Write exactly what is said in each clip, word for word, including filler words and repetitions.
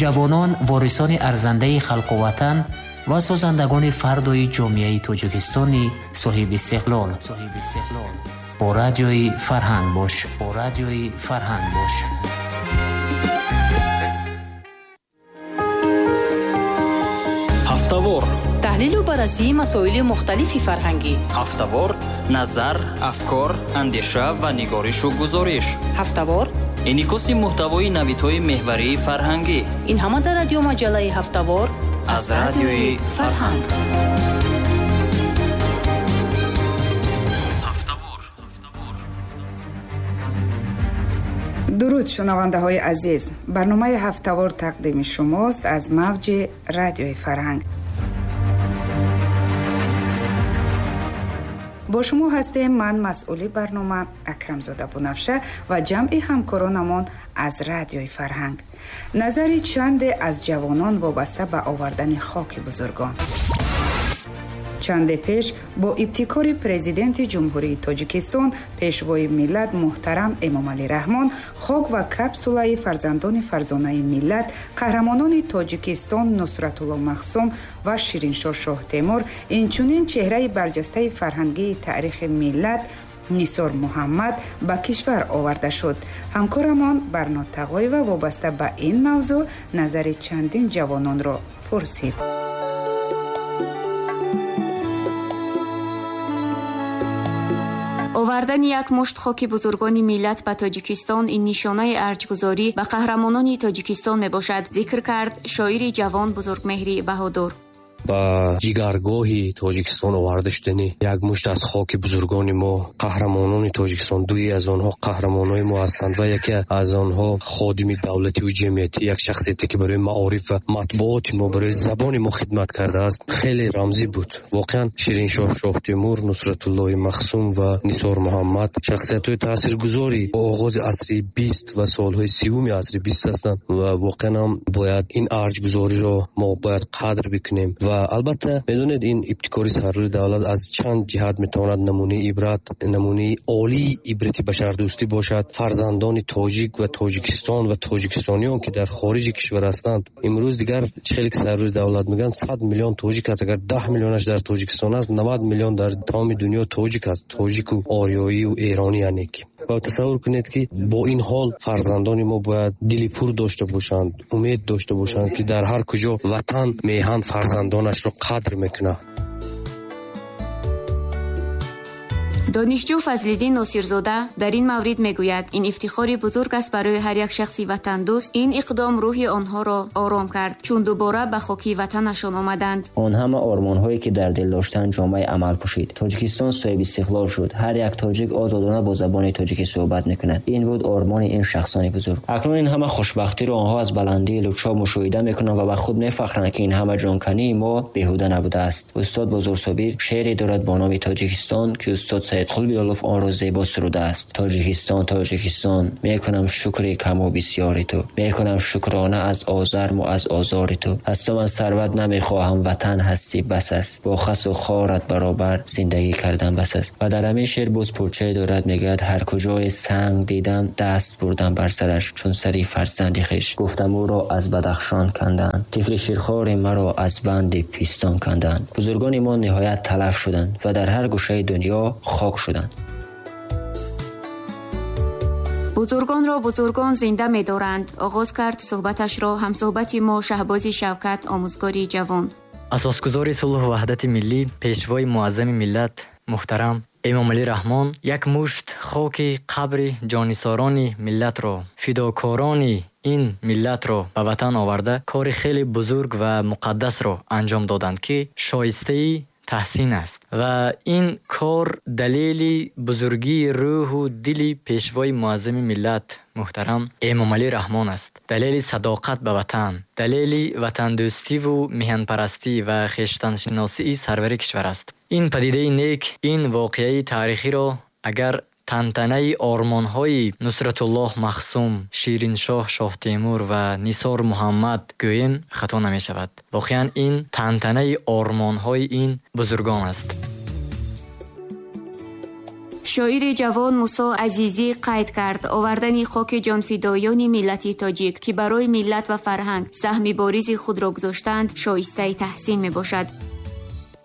Ҷавонон ворисони арзандаи халқу ватан ва созандагони фардои ҷомеаи Тоҷикистони соҳибистиқлол. Бо радиои Фарҳанг бош. Бо радиои Фарҳанг бош. Ҳафтавор. Таҳлилу баррасии масоили мухталифи фарҳангӣ. Ҳафтавор, назар, афкор, андеша ва нигоришу гузориш. Ҳафтавор. Инъикоси муҳтавои навидҳои меҳварии фарҳангӣ. Ин ҳама дар радиомаҷаллаи Ҳафтавор аз радиои Фарҳанг. Дуруд, шунавандаҳои азиз. Барномаи Ҳафтавор тақдими шумост аз мавҷи радиои Фарҳанг. Бо шумо ҳастем ман, масъули барнома Акрамзода Бунафша ва ҷамъи ҳамкоронамон аз радиои Фарҳанг. Назари чанде аз ҷавонон вобаста ба овардани хоки бузургон. Чанде пеш бо ибтикори президенти Ҷумҳурии Тоҷикистон, пешвои миллат муҳтарам Эмомалӣ Раҳмон, хок ва капсулаи фарзандони фарзонаи миллат, қаҳрамонони Тоҷикистон Нусратулло Махсум ва Шириншоҳ Шоҳтемур, инчунин чеҳраи барҷастаи фарҳангии таърихи миллат Нисор Муҳаммад ба кишвар оварда шуд. Ҳамкорамон Барнод Тағоева вобаста ба ин мавзӯъ назари чандин ҷавононро пурсид. Овардани як мушт хоки бузургони миллат ба Тоҷикистон ин нишонаи арҷгузорӣ ба қаҳрамонони Тоҷикистон мебошад, зикр кард шоири ҷавон Бузургмеҳри Баҳодур. Ба ҷигаргоҳи Тоҷикистон оварда шудани як мушт аз хоки бузургони мо, қаҳрамонони Тоҷикистон, дуи аз онҳо қаҳрамонони мо ҳастанд ва яке аз онҳо ходими давлативу ҷамъиятӣ, як шахсияте ки барои маориф ва матбуоти мо, барои забони мо хидмат кардааст, хеле рамзӣ буд. Воқеан Шириншоҳ Шоҳтемур, Нусратуллоҳи Махсум ва Нисор Муҳаммад шахсиятҳои таъсиргузори оғози асри бист ва солҳои сиюми асри бист ҳастанд ва воқеан ҳам бояд ин арҷгузориро мо бояд қадр бикунем. Ва албатта медонед, ин ибтикори сарвари давлат аз чанд ҷиҳат метавонад намунаи ибрат, намунаи олии ибрати башардӯстӣ бошад. Фарзандони тоҷик ва Тоҷикистон ва тоҷикистониён ки дар хориҷи кишвар ҳастанд, имрӯз дигар хеле ки сарвари давлат мегӯянд сад миллион тоҷик аст. Агар даҳ миллионаш дар Тоҷикистон аст, навад миллион дар тамоми дунё тоҷик аст, тоҷику ориёию эронӣ яъне ки. Ва тасаввур кунед ки бо ин ҳол фарзандони мо бояд дили пур дошта бошанд, умед дошта бошанд ки дар ҳар куҷо ватан, меҳан фарзандонашро қадр мекунад. Донишҷӯ Фазлиддин Носирзода дар ин маврид мегӯяд, ин ифтихори бузург аст барои ҳар як шахси ватандӯст. Ин иқдом рӯҳи онҳоро ором кард, чун дубора ба хоки ватанашон омаданд. Он ҳама ормонҳое ки дар дил доштанд ҷомаи амал пӯшид. Тоҷикистон соҳиби истиқлол шуд. Ҳар як тоҷик озодона бо забони тоҷикӣ суҳбат мекунад. Ин буд ормони ин шахсони бузург. Акнун ин ҳама хушбахтиро онҳо аз баландии лучҳо мушоҳида мекунанд ва ба худ мефахранд, ки ин ҳама ҷонкании мо беҳуда набудааст. Устод Бузургсобир шеъре дорад бо номи Тоҷикистон, ки устод Саидқул Билолов онро зебо сурудааст. Тоҷикистон, Тоҷикистон, мекунам шукри каму бисёри ту, мекунам шукрона аз озарму аз озори ту. Аз ту ман сарват намехоҳам, ватан ҳастӣ бас аст, бо хасу хорат баробар зиндагӣ кардан бас аст. Ва дар ҳамин шеър боз пурчае дорад, мегӯяд: ҳар куҷое санг дидам, даст бурдам бар сараш, чун сари фарзанди хеш. Гуфтам ӯро аз Бадахшон канданд, тифли ширхори маро аз банди пистон канданд. Бузургони мо ниҳоят талаф шуданд ва дар ҳар гӯшаи дунё хок шуданд. Бузургонро бузургон зинда медоранд, оғоз кард суҳбаташро ҳамсуҳбати мо Шаҳбози Шавкат, омӯзгори ҷавон. Асосгузори сулҳу ваҳдати миллӣ, пешвои муаззами миллат муҳтарам Эмомалӣ Раҳмон як мушт хоки қабри ҷонисорони миллатро, фидокорони ин миллатро ба ватан оварда, кори хеле бузург ва муқаддасро анҷом доданд, ки шоистаи таҳсин аст. Ва ин кор далели бузургии рӯҳу дили пешвои муаззами миллат муҳтарам Эмомалӣ Раҳмон аст. Далели садоқат ба ватан, далели ватандӯстиву меҳанпарастӣ ва хештаншиносии сарвари кишвар аст. Ин падидаи нек, ин воқеаи таърихиро агар тантанаи ормонҳои Нусратуллоҳ Махсум, Шириншоҳ Шоҳтемур ва Нисор Муҳаммад гӯем, хато намешавад. Воқеан ин тантанаи ормонҳои ин бузургон аст. Шоири ҷавон Мусо Азизӣ қайд кард, овардани хоки ҷонфидоёни миллати тоҷик, ки барои миллат ва фарҳанг саҳми боризи худро гузоштанд, шоистаи таҳсин мебошад.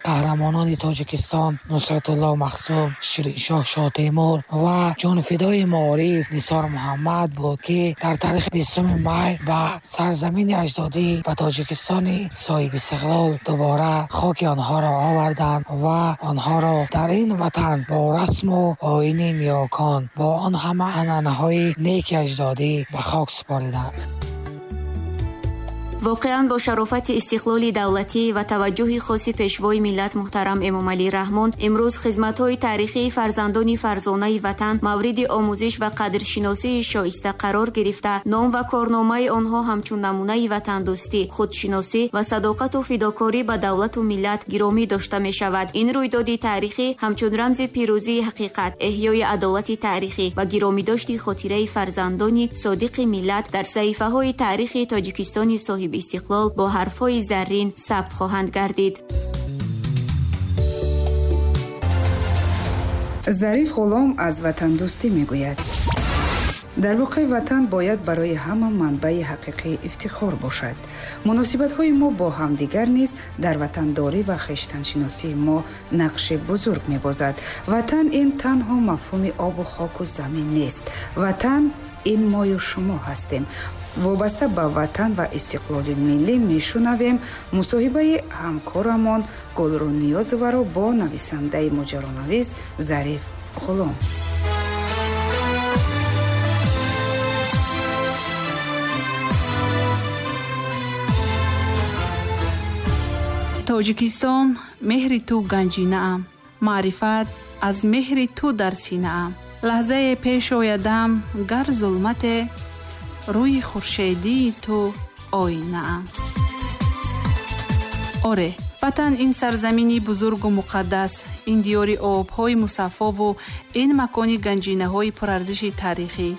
Қаҳрамонони Тоҷикистон Нусратулло Махсум, Шириншоҳ Шотемур ва ҷонфидои маориф Нисор Муҳаммад буд, ки дар таърихи бистуми май ба сарзамини аҷдодӣ, ба Тоҷикистони соҳибистиқлол дубора хоки онҳоро оварданд ва онҳоро дар ин ватан бо расму оини ниёкон, бо он ҳама анъанаҳои неки аҷдодӣ ба хок супориданд. Воқеан бо шарофати истиқлоли давлатӣ ва таваҷҷӯҳи хоси пешвои миллат муҳтарам Эмомалӣ Раҳмон имрӯз хизматҳои таърихии фарзандони фарзонаи ватан мавриди омӯзиш ва қадршиносии шоиста қарор гирифта, ном ва корномаи онҳо ҳамчун намунаи ватандӯстӣ, худшиносӣ ва садоқату фидокорӣ ба давлату миллат гиромӣ дошта мешавад. Ин рӯйдоди таърихӣ ҳамчун рамзи пирӯзии ҳақиқат, эҳёи адолати таърихӣ ва гиромидошти хотираи фарзандони содиқи миллат дар саҳифаҳои таърихи Тоҷикистони соҳиби истиқлол бо ҳарфҳои заррин сабт хоҳанд гардид. Зариф Ғулом аз ватандӯстӣ мегӯяд. Дар воқеъ ватан бояд барои ҳама манбаи ҳақиқии ифтихор бошад. Муносибатҳои мо бо ҳамдигар низ дар ватандорӣ ва хештаншиносии мо нақши бузург мебозад. Ватан ин танҳо мафҳуми обу хоку замин нест. Ватан ин мою шумо ҳастем. Вобаста ба ватан ва истиқлоли миллӣ мешунавем мусоҳибаи ҳамкорамон Гулрӯ Ниёзоваро бо нависандаи моҷаронавис Зариф Ғулом. Тоҷикистон, меҳри ту ганҷинаам, маърифат аз меҳри ту дар синаам. Лаҳзае пеш оядам, гар зулмате, рӯи хуршедии ту оинаам. Оре, ватан ин сарзамини бузургу муқаддас, ин диёри обҳои мусаффову ин макони ганҷинаҳои пурарзиши таърихӣ,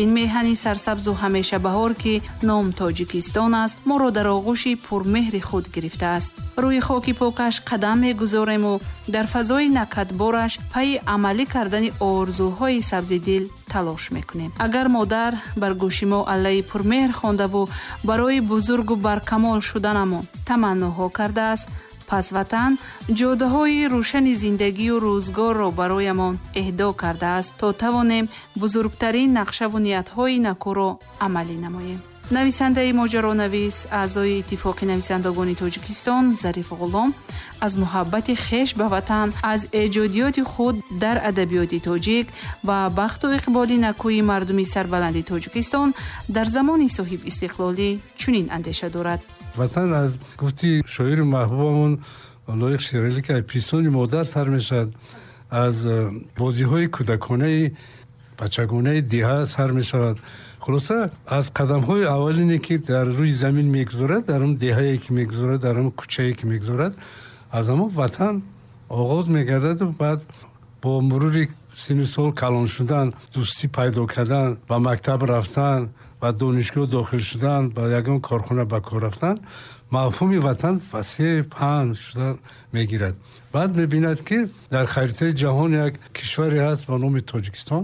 ин меҳани сарсабзу ҳамешабаҳор, ки ном Тоҷикистон аст, моро дар оғӯши пурмеҳри худ гирифтааст. Рӯи хоки покаш қадам мегузорему дар фазои накатбораш пайи амалӣ кардани орзуҳои сабзи дил талош мекунем. Агар модар бар гӯши мо аллаи пурмеҳр хондаву барои бузургу баркамол шуданамон таманноҳо кардааст, пас ватан ҷодаҳои рӯшани зиндагию рӯзгорро бароямон эҳдо кардааст, то тавонем бузургтарин нақшаву ниятҳои накӯро амалӣ намоем. Нависандаи моҷаронавис, аъзои Иттифоқи нависандагони Тоҷикистон Зариф Ғулом аз муҳаббати хеш ба ватан, аз эҷодиёти худ дар адабиёти тоҷик ва бахту иқболи накӯи мардуми сарбаланди Тоҷикистон дар замони соҳибистиқлолӣ чунин андеша дорад. Ватан аз гуфти шоири маҳбубамон Лоиқ Шералӣ, ки аз пистони модар сар мешавад, аз бозиҳои кӯдаконаи бачагонаи деҳа сар мешавад. Хулоса, аз қадамҳои аввалине, ки дар рӯи замин мегузорад, дар он деҳае ки мегузорад, дар он кӯчае ки мегузорад, аз ҳамон ватан оғоз мегардад. Баъд бо мурури синну сол калон шудан, дӯстӣ пайдо кардан, ба мактаб рафтан, ба донишгоҳ дохил шудан, ба ягон корхона ба кор рафтан, мафҳуми ватан васеъ паҳн шуда мегирад. Баъд мебинад, ки дар харитаи ҷаҳон як кишваре ҳаст ба номи Тоҷикистон,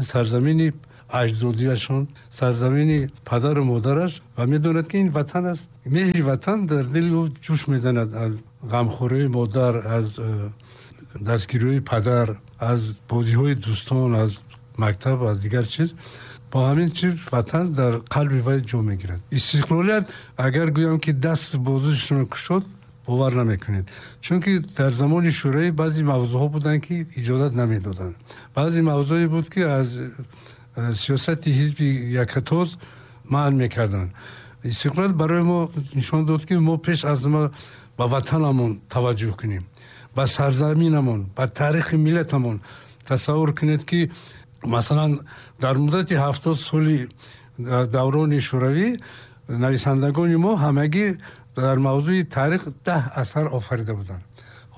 сарзамини аҷдодиашон, сарзамини падару модараш, ва медонад, ки ин ватан аст. Меҳри ватан дар дили ӯ ҷӯш мезанад аз ғамхориҳои модар, аз дастгириҳои падар, аз бозиҳои дӯстон, аз мактаб, аз дигар чиз. Бо ҳамин чиз ватан дар қалби вай ҷо мегирад. Истиқлолият, агар гӯям, ки даст бозушонро кушод, бовар намекунед. Чунки дар замони шӯравӣ баъзе мавзӯъҳо буданд, ки иҷозат намедоданд. Баъзе мавзӯе буд, ки аз сиёсати ҳизби якатоз манъ мекарданд. Истиқлолият барои мо нишон дод, ки мо пеш аз ҳама ба ватанамон таваҷҷӯҳ кунем, ба сарзаминамон, ба таърихи миллатамон. Тасаввур кунед, ки масалан дар муддати ҳафтод соли даврони шӯравӣ нависандагони мо ҳамагӣ дар мавзӯи таърих даҳ асар офарида буданд.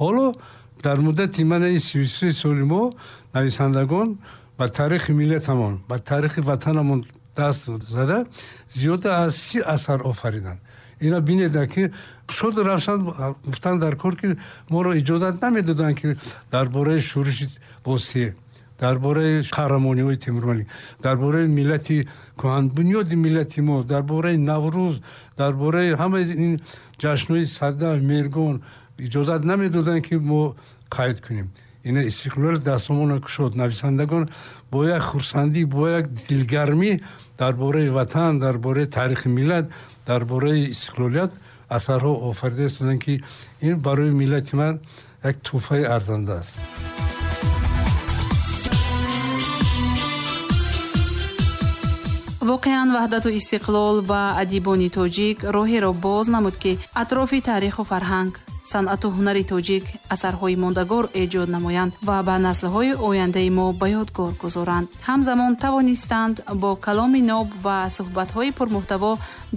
Ҳоло дар муддати мана ин сию се соли мо нависандагон ба таърихи миллатамон, ба таърихи ватанамон даст зада зиёда аз си асар офариданд. Ина бинед, ки шуд равшан гуфтан дар кор, ки моро иҷозат намедоданд, ки дар бораи шӯриши босие, Дар бораи қаҳрамониҳои Темурмалик, дар бораи миллати кӯҳанбунёди миллати мо, дар бораи Наврӯз, дар бораи ҳамаи ин ҷашнҳои Сада, Меҳргон иҷозат намедоданд, ки мо қайд кунем. Ина истиқлол дастомона кушод. Нависандагон бо як хурсандӣ, бо як дилгармӣ дар бораи ватан, дар бораи таърихи миллат, дар бораи истиқлолият асарҳо офарида истоданд, ки ин барои миллати ман як тӯҳфаи арзанда аст. Воқеан, ваҳдату истиқлол ба адибони тоҷик роҳеро боз намуд, ки атрофи таъриху фарҳанг, санъату ҳунари тоҷик асарҳои мондагор эҷод намоянд ва ба наслҳои ояндаи мо ба ёдгор гузоранд. Ҳамзамон тавонистанд бо каломи ноб ва суҳбатҳои пурмуҳтаво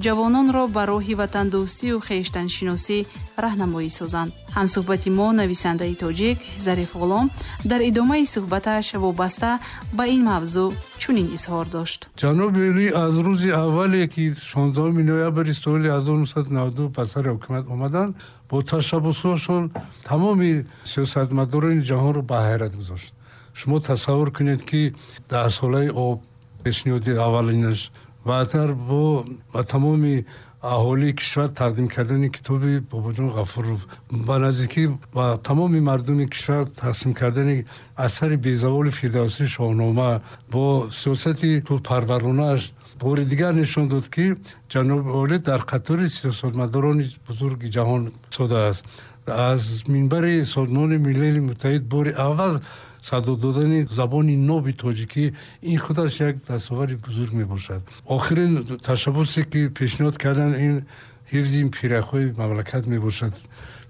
ҷавононро ба роҳи ватандӯстию хештаншиносӣ раҳнамоӣ созанд. Ҳамсуҳбати мо, нависандаи тоҷик Зариф Ғулом, дар идомаи суҳбаташ вобаста ба ин мавзӯъ чунин изҳор дошт. Ҷаноби Олӣ аз рӯзи аввале, ки шонздаҳуми ноябри соли ҳазору нӯҳсаду наваду ду ба сари ҳукумат омаданд, бо ташаббусҳошон тамоми сиёсатмадорони ҷаҳонро ба ҳайрат гузошт. Шумо тасаввур кунед, ки даҳсолаи об пешниҳоди аввалинаш, баъдтар бо ба тамоми аҳолии кишвар тақдим кардани китоби Бобоҷон Ғафуров, ба наздикӣ ба тамоми мардуми кишвар тақсим кардани асари безаволи Фирдавсӣ Шоҳнома, бо сиёсати пулпарваронааш бори дигар нишон дод, ки ҷаноби олӣ дар қатори сиёсатмадорони бузурги ҷаҳон содааст. Аз минбари Созмони Милали Муттаҳид бори аввал садо додани забони ноби тоҷикӣ, ин худаш як дастовари бузург мебошад. Охирин ташаббусе, ки пешниҳод карданд, ин ҳифзи пиряхҳои мамлакат мебошад,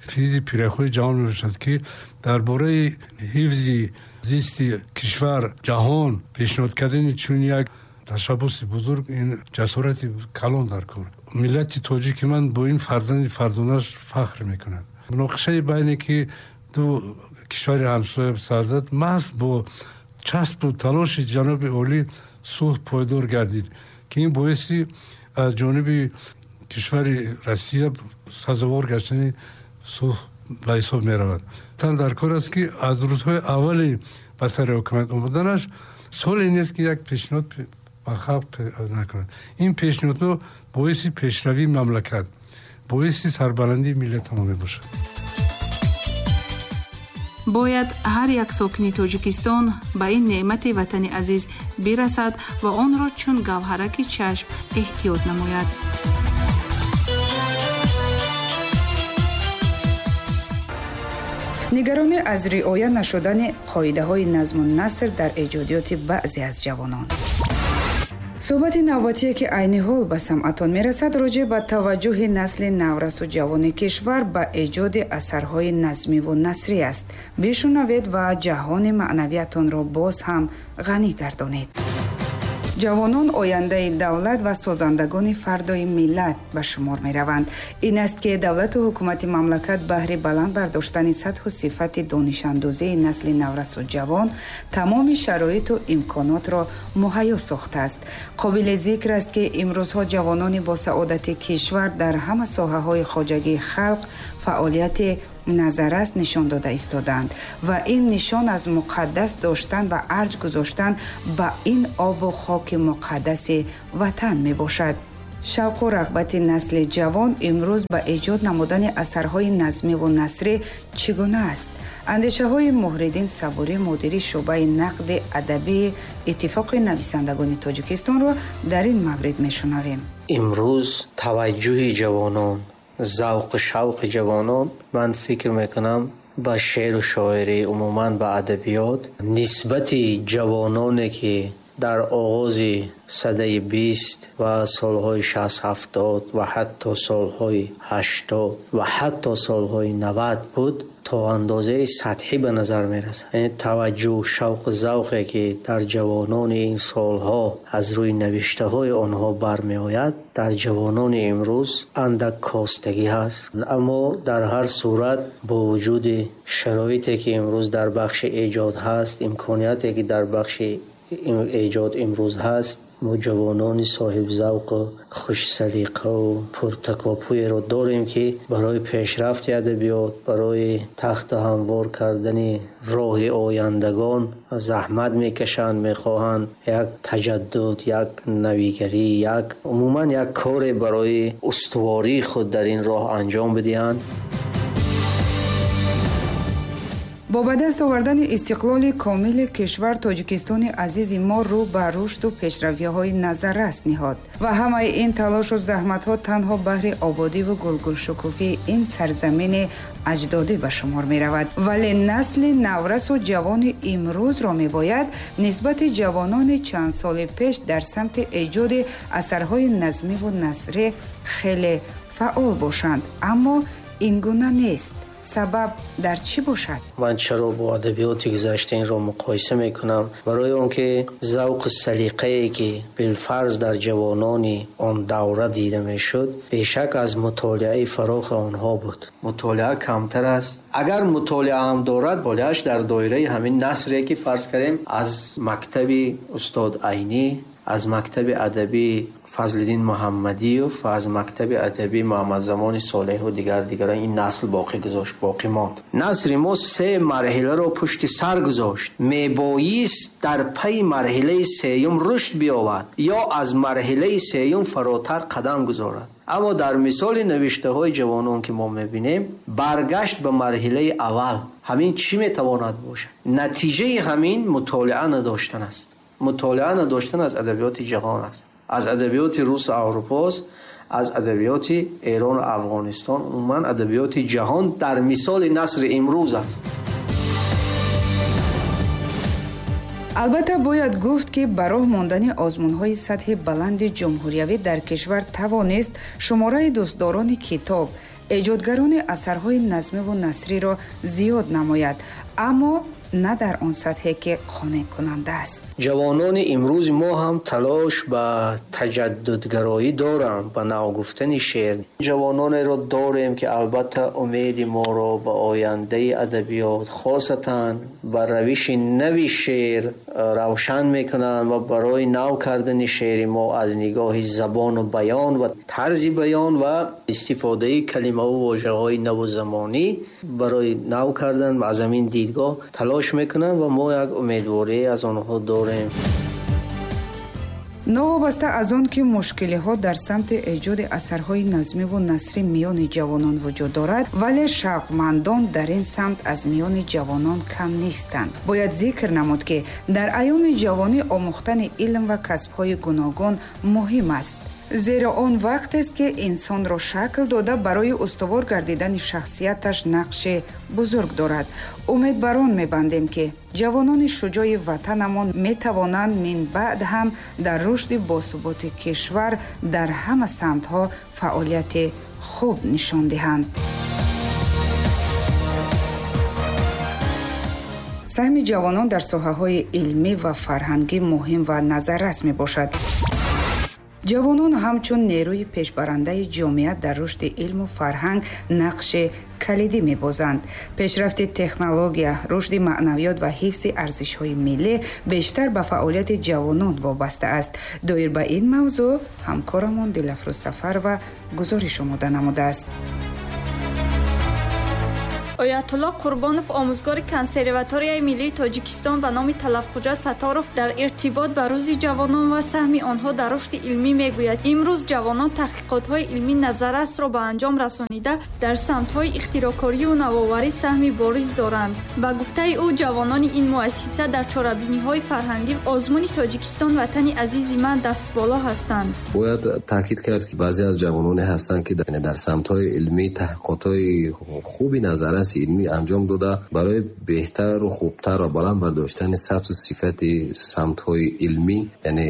ҳифзи пиряхҳои ҷаҳон мебошад, ки дар бораи ҳифзи зисти кишвар, ҷаҳон пешниҳод кардани чунин як ташаббуси бузург, ин ҷасорати калон дар кор. Миллати тоҷики ман бо ин фарзанди фарзонаш фахр мекунад. Муноқишаи байне ки ду кишвари ҳамсоя сар зад, маҳз бо часпу талоши ҷаноби олӣ сулҳ пойдор гардид, ки ин боиси аз ҷониби кишвари Россия сазовор гаштани сулҳ ба ҳисоб меравад. Тан дар кор аст, ки аз рӯзҳои аввали ба сари ҳукумат омаданаш соле нест, ки як пешниҳод ба халқ накунад. Ин пешниҳодҳо боиси пешравии мамлакат, боиси сарбаландии миллатамо мебошад. Бояд ҳар як сокини Тоҷикистон ба ин неъмати ватани азиз бирасад ва онро чун гавҳараки чашм эҳтиёт намояд. Нигаронӣ аз риоя нашудани қоидаҳои назму наср дар эҷодиёти баъзе аз ҷавонон. Суҳбати навбатие, ки айни ҳол ба самъатон мерасад, роҷеъ ба таваҷҷӯҳи насли наврасу ҷавони кишвар ба эҷоди асарҳои назмиву насрӣ аст. Бишунавед ва ҷаҳони маънавиятонро боз ҳам ғанӣ гардонед. Ҷавонон ояндаи давлат ва созандагони фардои миллат ба шумор мераванд. Ин аст, ки давлату ҳукумати мамлакат баҳри баланд бардоштани сатҳу сифати донишандозии насли наврасу ҷавон тамоми шароиту имконотро муҳайё сохтааст. Қобили зикр аст, ки имрӯзҳо ҷавонони босаодати кишвар дар ҳама соҳаҳои хоҷагии халқ фаъолияти назаррас нишон дода истодаанд ва ин нишон аз муқаддас доштан ва арҷ гузоштан ба ин обу хоки муқаддаси ватан мебошад. Шавқу рағбати насли ҷавон имрӯз ба эҷод намудани асарҳои назмиву насрӣ чӣ гуна аст? Андешаҳои Муҳриддин Сабурӣ, мудири шӯъбаи нақди адабии Иттифоқи нависандагони Тоҷикистонро дар ин маврид мешунавем. Имрӯз таваҷҷӯҳи ҷавонон, завқу шавқи ҷавонон, ман фикр мекунам, ба шеъру шоирӣ, умуман ба адабиёт нисбати ҷавононе, ки дар оғози садаи бист ва солҳои шаст ҳафтод ва ҳатто солҳои ҳаштод ва ҳатто солҳои навад буд, то андозаи сатҳӣ ба назар мерасад. Яъне таваҷҷӯҳ, шавқу завқе, ки дар ҷавонони ин солҳо аз рӯи навиштаҳои онҳо бармеояд, дар ҷавонони имрӯз андак костагӣ ҳаст. Аммо дар ҳар сурат бо вуҷуди шароите, ки имрӯз дар бахши эҷод ҳаст, имконияте, ки дар бахши эҷод имрӯз ҳаст, мо ҷавонони соҳибзавқу хушсалиқаву пуртакопӯеро дорем, ки барои пешрафти адабиёт, барои тахту ҳамвор кардани роҳи ояндагон заҳмат мекашанд, мехоҳанд як таҷаддуд, як навигарӣ, як умуман як коре барои устувории худ дар ин роҳ анҷом бидиҳанд. Бо ба даст овардани истиқлоли комили кишвар, Тоҷикистони азизи мо рӯ ба рушду пешравиҳои назаррас ниҳод ва ҳамаи ин талошу заҳматҳо танҳо баҳри ободиву гулгулшукуфии ин сарзамини аҷдодӣ ба шумор меравад. Вале насли наврасу ҷавони имрӯзро мебояд нисбати ҷавонони чанд соли пеш дар самти эҷоди асарҳои назмиву насрӣ хеле фаъол бошанд, аммо ин гуна нест. Сабаб дар чӣ бошад? Ман чаро бо адабиёти гузашта инро муқоиса мекунам? Барои он ки завқу салиқае ки билфарз дар ҷавонони он давра дида мешуд, бешак аз мутолиаи фарохи онҳо буд. Мутолиа камтар аст. Агар мутолиа ҳам дорад, мутолиааш дар доираи ҳамин насре ки фарз кардем аз мактаби устод Айнӣ, аз мактаби адабӣ Фазлиддин Муҳаммадиев ва аз мактаби адабӣ Муҳаммадзамони Солеҳу дигар дигарон ин насл боқӣ гузошт, боқӣ монд. Насри мо се марҳиларо пушти сар гузошт. Мебоист дар пайи марҳилаи сеюм рушд биёвад ё аз марҳилаи сеюм фаротар қадам гузорад. Аммо дар мисоли навиштаҳои ҷавонон ки мо мебинем, баргашт ба марҳилаи аввал ҳамин чӣ метавонад бошад? Натиҷаи ҳамин мутолиа надоштан аст. Мутолиа надоштан аз адабиёти ҷаҳон аст, аз адабиёти рус ва аврупост, аз адабиёти Эрон ва Афғонистон, умуман адабиёти ҷаҳон дар мисоли насри имрӯз аст. Албатта бояд гуфт, ки ба роҳ мондани озмунҳои сатҳи баланди ҷумҳуриявӣ дар кишвар тавонист шумораи дӯстдорони китоб, эҷодгарони асарҳои назмиву насриро зиёд намояд, аммо на дар он сатҳе ки қонеъкунанда аст. Ҷавонони имрӯзи мо ҳам талош ба таҷаддудгароӣ доранд, ба навгуфтани шеър. Ҷавононеро дорем ки албатта умеди моро ба ояндаи адабиёт, хосатан ба равиши нави шеър равшан мекунанд ва барои нав кардани шеъри мо аз нигоҳи забону баён ва тарзи баён ва истифодаи калимаву вожаҳои наву замонӣ барои нав кардан аз ҳамин дидгоҳ талош мекунанд ва мо як умедворӣ аз онҳо дорем. Новобаста аз он ки мушкилиҳо дар самти эҷоди асарҳои назмиву насрӣ миёни ҷавонон вуҷуд дорад, вале шавқмандон дар ин самт аз миёни ҷавонон кам нестанд. Бояд зикр намуд, ки дар айёми ҷавонӣ омӯхтани илм ва касбҳои гуногун муҳим аст, зеро он вақтест ки инсонро шакл дода барои устувор гардидани шахсияташ нақши бузург дорад. Умед бар он мебандем, ки ҷавонони шуҷои ватанамон метавонанд минбаъд ҳам дар рушди босуботи кишвар дар ҳама самтҳо фаъолияти хуб нишон диҳанд. Саҳми ҷавонон дар соҳаҳои илмӣ ва фарҳангӣ муҳим ва назаррас мебошад. Ҷавонон ҳамчун нерӯи пешбарандаи ҷомеа дар рушди илму фарҳанг нақши калидӣ мебозанд. Пешрафти технология, рушди маънавиёт ва ҳифзи арзишҳои миллӣ бештар ба фаъолияти ҷавонон вобаста аст. Доир ба ин мавзӯъ ҳамкорамон Дилафрӯз Сафарова гузориш омода намудааст. Оятулло Қурбонов, омӯзгори консерваторияи миллии Тоҷикистон ба номи Талабхуҷа Сатторов, дар иртибот ба рӯзи ҷавонон ва саҳми онҳо дар рушди илмӣ мегӯяд: имрӯз ҷавонон таҳқиқотҳои илмӣ назаррасро ба анҷом расонида, дар самтҳои ихтироъкорию навоварӣ саҳми бориз доранд. Ба гуфтаи ӯ, ҷавонони ин муассиса дар чорабиниҳои фарҳангӣ озмуни Тоҷикистон ватани азизи ман дастболо ҳастанд. Бояд таъкид кард, ки баъзе аз ҷавононе ҳастанд, ки дар самтҳои илмӣ таҳқиқотҳои хуби назаррас илмӣ анҷом дода, барои беҳтару хубтар ва баланд бардоштани сатҳу сифати самтҳои илмӣ, яъне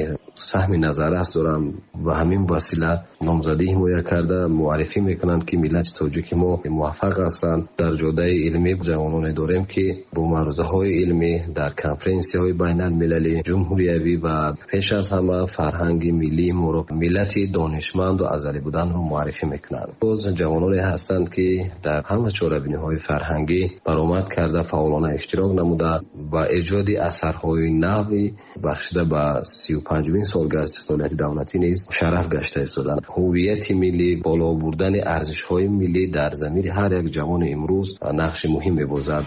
саҳми назаррас доранд, ба ҳамин васила номзадӣ ҳимоя карда муаррифӣ мекунанд, ки миллати тоҷики мо муваффақ ҳастанд. Дар ҷодаи илмӣ ҷавононе дорем, ки бо маърузаҳои илмӣ дар конференсияҳои байналмилалӣ, ҷумҳуриявӣ ва пеш аз ҳама фарҳанги миллии моро, миллати донишманду азалӣ буданро муаррифӣ мекунанд. Боз ҷавононе ҳастанд, ки дар ҳама чорабиниҳои фарҳангӣ баромад карда, фаъолона иштирок намуда ба эҷоди асарҳои нави бахшида ба сию панҷумин солгарди истиқлолияти давлатӣ низ шараф гашта истоданд. Ҳуввияти миллӣ, боло бурдани арзишҳои миллӣ дар замири ҳар як ҷавони имрӯз нақши муҳим мебозад.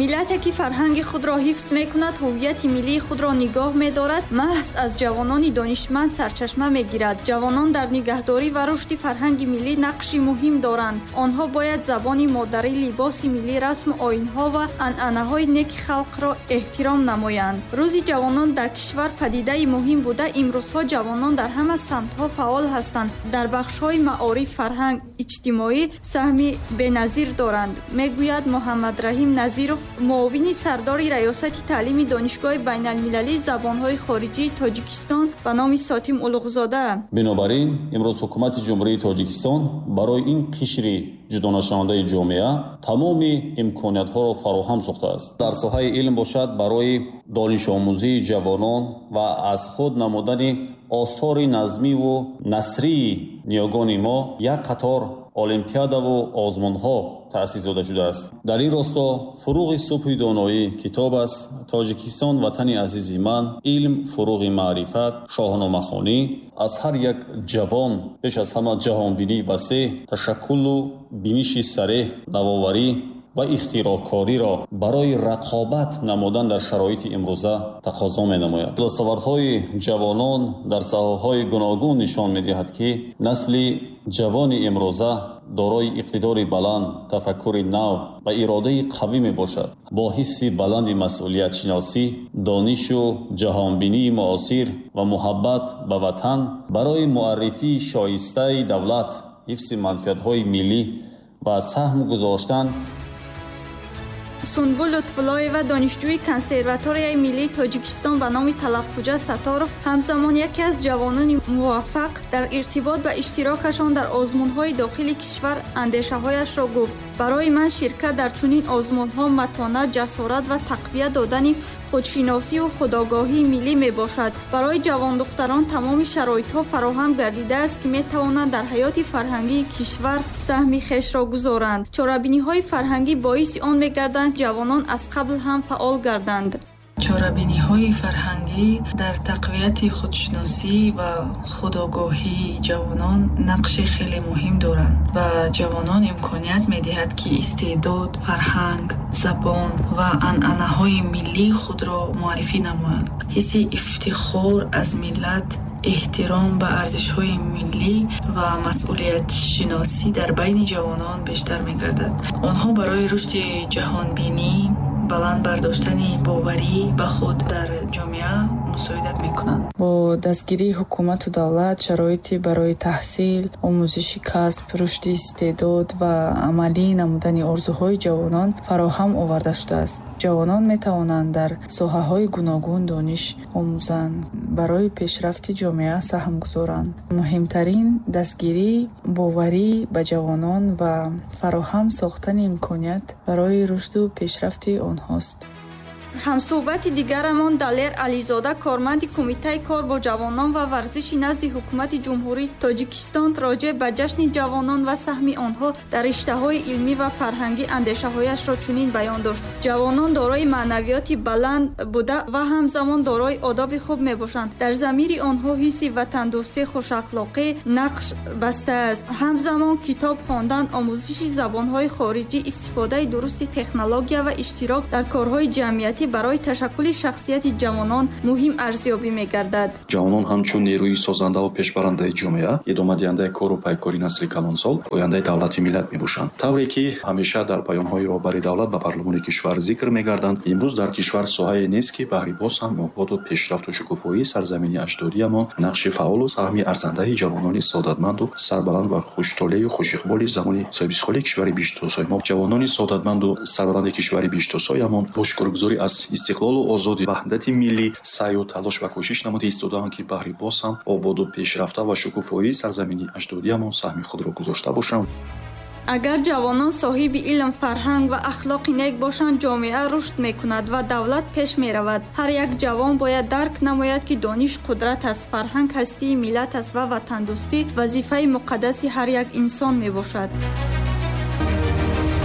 Миллате ки фарҳанги худро ҳифз мекунад, ҳуввияти миллии худро нигоҳ медорад, маҳз аз ҷавонони донишманд сарчашма мегирад. Ҷавонон дар нигаҳдорӣ ва рушди фарҳанги миллӣ нақши муҳим доранд. Онҳо бояд забони модарӣ, либоси миллӣ, расму оинҳо ва анъанаҳои неки халқро эҳтиром намоянд. Рӯзи ҷавонон дар кишвар падидаи муҳим буда, имрӯзҳо ҷавонон дар ҳама самтҳо фаъол ҳастанд. Дар бахшҳои маориф, фарҳанг, иҷтимоӣ саҳми беназир доранд, мегӯяд Муҳаммадраҳим Назиров, муовини сардори раёсати таълими Донишгоҳи байналмилалии забонҳои хориҷии Тоҷикистон ба номи Сотим Улуғзода. Бинобар ин имрӯз ҳукумати Ҷумҳурии Тоҷикистон барои ин қишри ҷудонашавандаи ҷомеа тамоми имкониятҳоро фароҳам сохтааст. Дар соҳаи илм бошад, барои донишомӯзии ҷавонон ва аз худ намудани осори назмиву насрии ниёгони мо як қатор олимпиадаву озмунҳо таъсис дода шудааст. Дар ин росто фуруғи субҳи доноӣ китоб аст, Тоҷикистон ватани азизи ман, илм фуруғи маърифат, шоҳномахонӣ аз ҳар як ҷавон пеш аз ҳама ҷаҳонбинии васеъ, ташаккулу биниши сареҳ, навоварӣ ва ихтироъкориро барои рақобат намудан дар шароити имрӯза тақозо менамояд. Дастовардҳои ҷавонон дар соҳаҳои гуногун нишон медиҳад, ки насли ҷавони имрӯза дорои иқтидори баланд, тафаккури нав ва иродаи қавӣ мебошад. Бо ҳисси баланди масъулиятшиносӣ, донишу ҷаҳонбинии муосир ва муҳаббат ба ватан барои муаррифии шоистаи давлат, ҳифзи манфиатҳои миллӣ ва саҳм гузоштан. Сунбул Лутфуллоева, донишҷӯи консерваторияи миллии Тоҷикистон ба номи Талабхуҷа Сатторов, ҳамзамон яке аз ҷавонони муваффақ дар иртибот ба иштирокашон дар озмунҳои дохили кишвар андешаҳояшро гуфт. Барои ман ширкат дар чунин озмунҳо матонат, ҷасорат ва тақвият додани худшиносию худогоҳии миллӣ мебошад. Барои ҷавондухтарон тамоми шароитҳо фароҳам гардидааст, ки метавонанд дар ҳаёти фарҳангии кишвар саҳми хешро гузоранд. Чорабиниҳои фарҳангӣ боиси он мегарданд, ҷавонон аз қабл ҳам фаъол гарданд. Чорабиниҳои фарҳангӣ дар тақвияти худшиносӣ ва худогоҳии ҷавонон нақши хеле муҳим доранд ва ҷавонон имконият медиҳад, ки истеъдод, фарҳанг, забон ва анъанаҳои миллии худро муаррифӣ намоянд. Ҳисси ифтихор аз миллат, эҳтиром ба арзишҳои миллӣ ва масъулиятшиносӣ дар байни ҷавонон бештар мегардад. Онҳо барои рушди ҷаҳонбинӣ, баланд бардоштани боварӣ ба худ дар ҷомеа мусоидат мекунанд. Бо дастгирии ҳукумату давлат шароити барои таҳсил, омӯзиши касб, рушди истеъдод ва амалӣ намудани орзуҳои ҷавонон фароҳам оварда шудааст. Ҷавонон метавонанд дар соҳаҳои гуногун дониш омӯзанд, барои пешрафти ҷомеа саҳм гузоранд. Муҳимтарин дастгирӣ боварӣ ба ҷавонон ва фароҳам сохтани имконият барои рушду пешрафти онҳост. Ҳамсӯҳбати дигарамон Далер Ализода, корманди Кумитаи кор бо ҷавонон ва варзиши назди Ҳукумати Ҷумҳурии Тоҷикистон, роҷеъ ба ҷашни ҷавонон ва саҳми онҳо дар риштаҳои илмӣ ва фарҳангӣ андешаҳояшро чунин баён дошт. Ҷавонон дорои маънавиёти баланд буда ва ҳамзамон дорои одоби хуб мебошанд. Дар замири онҳо ҳисси ватандӯстӣ, хушахлоқӣ нақш бастааст. Ҳамзамон китоб хондан, омӯзиши забонҳои хориҷӣ, истифодаи дурусти технология ва иштирок дар корҳои ҷамъиятӣ барои ташаккули шахсияти ҷавонон муҳим арзёбӣ мегардад. Ҷавонон ҳамчун нерӯи созанда ва пешбарандаи ҷомеа, идомадиҳандаи кору пайкори насли калонсол, ояндаи давлати миллат мебошанд. Тавре ки ҳамеша дар паёмҳои роҳбари давлат ба парлумони кишвар зикр мегарданд, имрӯз дар кишвар соҳае нест, ки баҳри боз ҳам ободу пешрафту шукуфоии сарзамини аҷдодиамон нақши фаъолу саҳми арзандаи ҷавонони саодатманду сарбаланд ва хуштолею хушиқболи замони соҳибистиқлоли кишвари биштосои мо, ҷавонони саодатманду сарбаланди кишвари биштосоямон бо шукргузорӣ аз Аз истиқлолу озодӣ, ваҳдати миллӣ саъю талош ва кӯшиш намуда истодаанд, ки баҳри боз ҳам ободу пешрафта ва шукуфоии сарзамини аҷдодиамон саҳми худро гузошта бошанд. Агар ҷавонон соҳиби илм, фарҳанг ва ахлоқи нек бошанд, ҷомеа рушд мекунад ва давлат пеш меравад. Ҳар як ҷавон бояд дарк намояд, ки дониш қудрат аст, фарҳанг ҳастии миллат аст ва ватандӯстӣ вазифаи муқаддаси ҳар як инсон мебошад.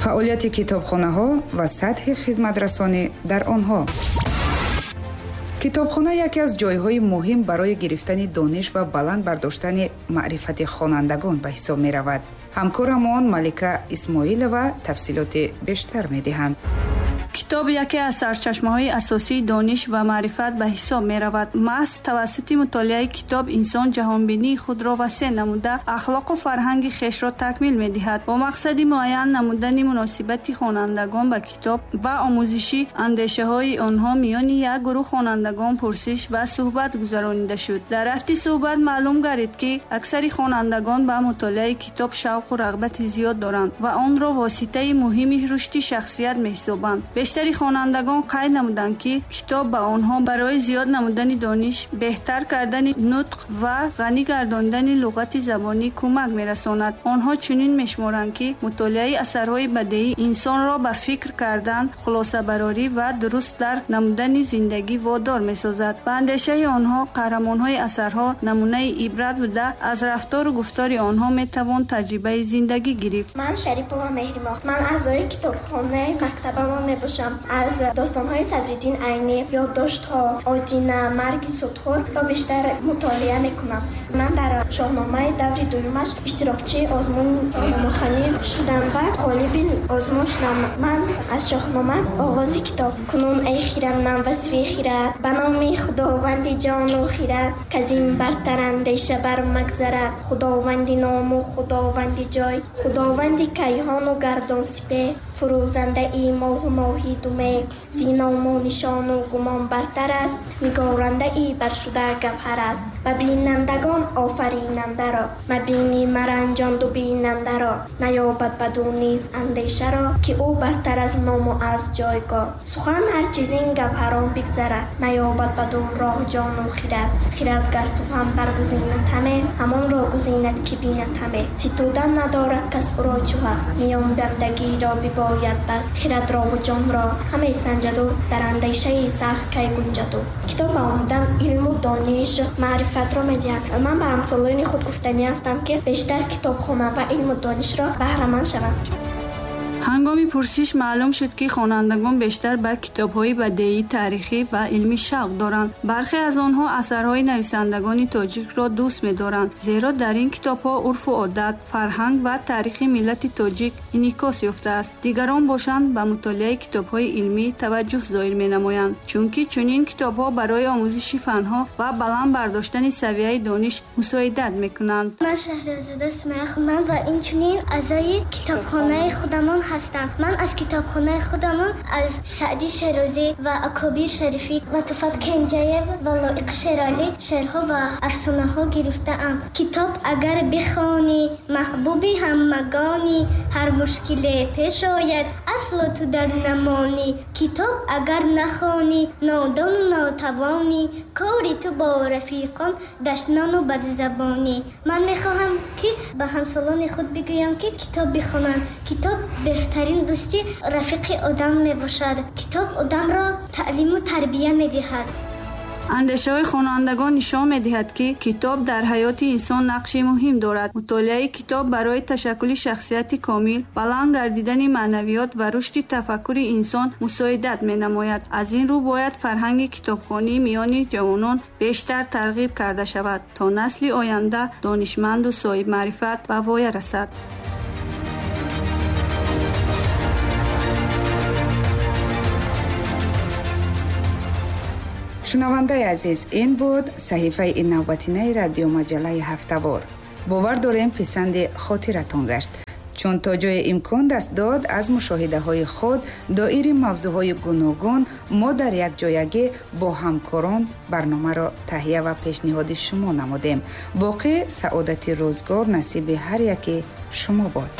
Фаъолияти китобхонаҳо ва сатҳи хизматрасонӣ дар онҳо. Китобхона яке аз ҷойҳои муҳим барои гирифтани дониш ва баланд бардоштани маърифати хонандагон ба ҳисоб меравад. Ҳамкорамон Малика Исмоилова тафсилоти бештар медиҳанд. Китоб яке аз сарчашмаҳои асосии дониш ва маърифат ба ҳисоб меравад. Маҳз тавассути мутолиаи китоб инсон ҷаҳонбинии худро васеъ намуда, ахлоқу фарҳанги хешро такмил медиҳад. Бо мақсади муайян намудани муносибати хонандагон ба китоб ва омӯзиши андешаҳои онҳо миёни як гурӯҳ хонандагон пурсиш ва суҳбат гузаронида шуд. Дар рафти суҳбат маълум гардид, ки аксари хонандагон ба мутолиаи китоб шавқу рағбати зиёд доранд ва онро воситаи муҳими рушди шахсият меҳисобанд. Бештари хонандагон қайд намуданд, ки китоб ба онҳо барои зиёд намудани дониш, беҳтар кардани нутқ ва ғанӣ гардондани луғати забонӣ кӯмак мерасонад. Онҳо чунин мешуморанд, ки мутолиаи асарҳои бадеӣ инсонро ба фикр кардан, хулосабарорӣ ва дуруст дарк намудани зиндагӣ водор месозад. Ба андешаи онҳо қаҳрамонҳои асарҳо намунаи ибрат буда, аз рафтору гуфтори онҳо метавон таҷрибаи зиндагӣ гирифт. Ман Шарипова Меҳримоҳ. Ман аъзои китобхонаи мактабамон мебошам. Аз достонҳои Садриддин Айнӣ, ёддоштҳо, Одина, марги судхӯрро бештар мутолиа мекунам. Ман дар шоҳномаи даври дуюмаш иштирокчии озмуни шоҳномахонӣ шудам ва ғолиби озмун шудам. Ман аз шоҳнома оғози китоб: кунун эй хирад ман васфи хирад, ба номи худованди ҷону хирад, каз ин бартар андеша бар магзарад, худованди ному худованди ҷой, худованди кайҳону гардон сипеҳ, фурӯзандаи моҳу моҳи думе, зи ному нишону гумон бартар аст, нигорандаи баршуда гавҳар аст. Ба бинандагон офаринандаро, мабини маранҷонду бинандаро, наёбад баду низ андешаро, ки ӯ бартар аз ному аз ҷойгоҳ. Сухан ҳар чизин гавҳарон бигзарад, наёбад баду роҳ ҷону хирад. Хирад гар сухан баргузинад ҳаме, ҳамонро гузинад ки бинад ҳаме. Ситудан надорад кас ӯро чӯ ҳаст, миёнбандагиро бибояд баст. Хирадрову ҷонро ҳаме санҷаду, дар андешаи сахт кай гунҷаду. Китоб ба омадан илму дониш, маърифатро медиҳад. Ман ба ҳамсолони худ гуфтанӣ ҳастам, ки бештар китоб хонанд ва илму донишро баҳраманд шаванд. Ҳангоми пурсиш маълум шуд, ки хонандагон бештар ба китобҳои бадеӣ, таърихӣ ва илмӣ шавқ доранд. Бархе аз онҳо асарҳои нависандагони тоҷикро дӯст медоранд, зеро дар ин китобҳо урфу одат, фарҳанг ва таърихи миллати тоҷик инъикос ёфтааст. Дигарон бошанд ба мутолиаи китобҳои илмӣ таваҷҷӯҳ зоҳир менамоянд, чунки чунин китобҳо барои омӯзиши фанҳо ва баланд бардоштани савияи дониш мусоидат мекунанд. Ман Шаҳрозода Сумайя ва инчунин аъзои китобхонаи худамон ҳастам. Ман аз китобхонаи худамон аз Саъди Шерозӣ ва Акобир Шарифӣ, Латофат Кенҷаев ва Лоиқ Шералӣ шеърҳо ва афсонаҳо гирифтаам. Китоб агар бихонӣ, маҳбуби ҳамагонӣ, ҳар мушкиле пеш ояд, асло ту дар намонӣ. Китоб агар нахонӣ, нодону нотавонӣ, кори ту бо рафиқон дашнону бадзабонӣ. Ман мехоҳам, ки ба ҳамсолони худ бигӯям, ки китоб бихонанд. Китоб беҳтарин дӯсти рафиқи одам мебошад. Китоб одамро таълиму тарбия медиҳад. Андешаҳои хонандагон нишон медиҳад, ки китоб дар ҳаёти инсон нақши муҳим дорад. Мутолиаи китоб барои ташаккули шахсияти комил, баланд гардидани маънавиёт ва рушди тафаккури инсон мусоидат менамояд. Аз ин рӯ бояд фарҳанги китобхонӣ миёни ҷавонон бештар тарғиб карда шавад, то насли оянда донишманду соҳибмаърифат ба воя расад. Шунавандаи азиз, ин буд саҳифаи навбатинаи радиомаҷаллаи ҳафтавор. Бовар дорем писанди хотиратон гашт, чун то ҷое имкон даст дод аз мушоҳидаҳои худ доири мавзӯъҳои гуногун мо дар якҷоягӣ бо ҳамкорон барномаро таҳия ва пешниҳоди шумо намудем. Боқӣ саодати рӯзгор насиби ҳар яке шумо бод.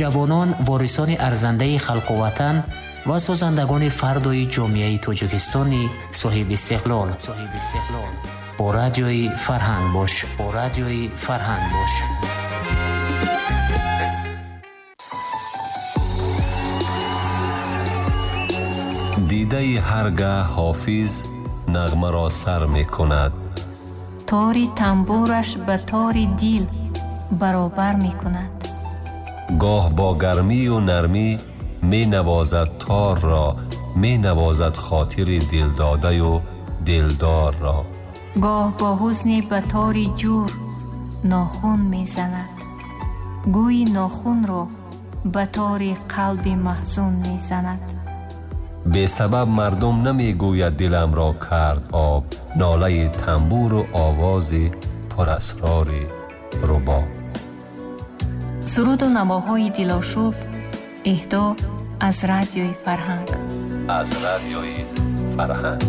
Ҷавонон ворисони арзандаи халқу ватан ва созандагони фардои ҷомеаи Тоҷикистони соҳибистиқлол. Соҳибистиқлол. Бо радиои Фарҳанг бош. Бо радиои Фарҳанг бош. Дидаи ҳаргаҳ ҳофиз нағмаро сар мекунад. Тори тамбураш ба тори дил баробар мекунад. Гоҳ бо гармию нармӣ менавозад торро, менавозад хотири дилдодаю дилдорро. Гоҳ бо ҳузне ба тори ҷур нохун мезанад, гӯйи нохунро ба тори қалби маҳзун мезанад. Бесабаб мардум намегӯяд диламро кард об, нолаи тамбуру овози пурасрори рубоб. Суруду навоҳои дилошуб эҳдо аз радиои Фарҳанг. Аз радиои Фарҳанг.